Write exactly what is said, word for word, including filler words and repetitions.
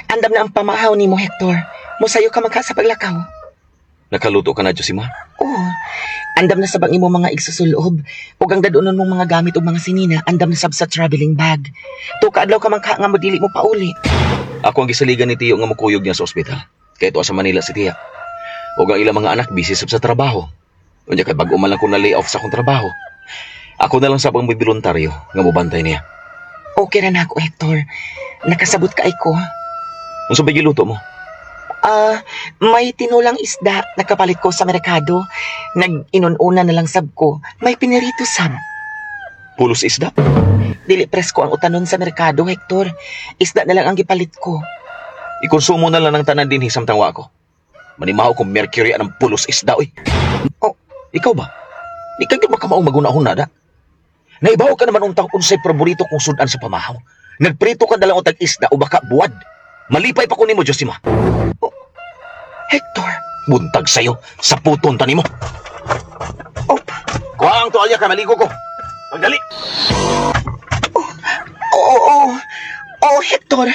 Andam na ang pamahaw nimo, Hector. Musayo ka man ka sa paglakaw. Nakaluto ka na, Josima? Oh, andam na sab ang imo mga igsusulob. Ug ang dadunon mong mga gamit ug mga sinina, andam na sab sa traveling bag. Tuo ka adlaw ka man ka nga mo dili mo pauli. Ako ang gisaligan ni Tiyo nga mukuyog niya sa ospital. Kay tuwa sa Manila si Tiya. Ug ang ilang mga anak busy sab sa trabaho. Unya kay bag-o man lang ko na lay off sa akong trabaho. Ako na lang sab ang voluntaryo nga mobantay niya. Okay ra na ako, Hector. Nakasabot kay ko. Unsa ba giluto mo? Ah, may tinulang isda nakapalit ko sa merkado. Nag-inun-una na lang sab ko. May pinirito sab. Pulos isda? Dili presko ang utanon sa merkado, Hector. Isda na lang ang gipalit ko. Ikonsumo na lang ng tanan dinhi samtang wa ko. Manimaho kung mercury ang pulos isda oy. Oh. Ikaw ba? Di ka gyud makamaong maghuna-huna da. Naibaw ka naman untang unsay paborito kong sudan sa pamahaw. Nagprito ka na lang untag isda o baka buwad. Malipay pa ko nimo, Josima. Hector. Buntag sayo, sa puton ta nimo. Oh, Kuha ang tuwalya kay maligo ko. Magdali. oo, oo. Oh, Hector.